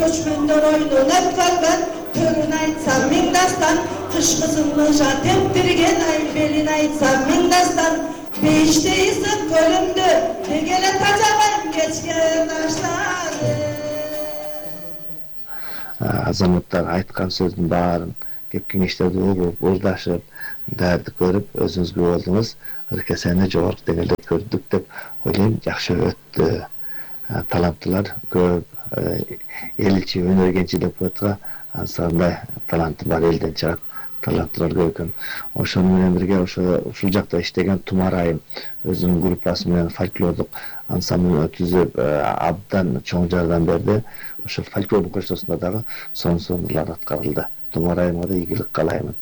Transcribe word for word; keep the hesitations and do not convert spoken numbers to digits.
көчкөндөр ойнун өткөргөн, төрүн айтсам миң дастан, кыш кызымны жар тептирген ай белин айтсам миң дастан. Бейиште ысык көлүмдү дегеле тажабайм кечке таштарды. Азаматтар айткан сөздүн баарын, кеп кеңештерди угуп, ырдашып, дарды көрүп, өзүңүзгө болдуңуз, ыркесени жогорку деңгээлде көрдүк деп ойлойм. Жакшы өттү. Таланттуулар көп. Эл ичи өнөр кенчи деп коетка, ансандай таланты бар элден чыгат. Таланттуулар көп экен. Ошону менен бирге ошо ушул жакта иштеген Тумар айым өзүнүн группасы менен фольклордук ансамбль түзүп абдан чоң жардам берди. Ошо фольклордук көчтөсүндө дагы сонун сонурлар аткарылды. Тумар айымга да ийгилик каалаймын.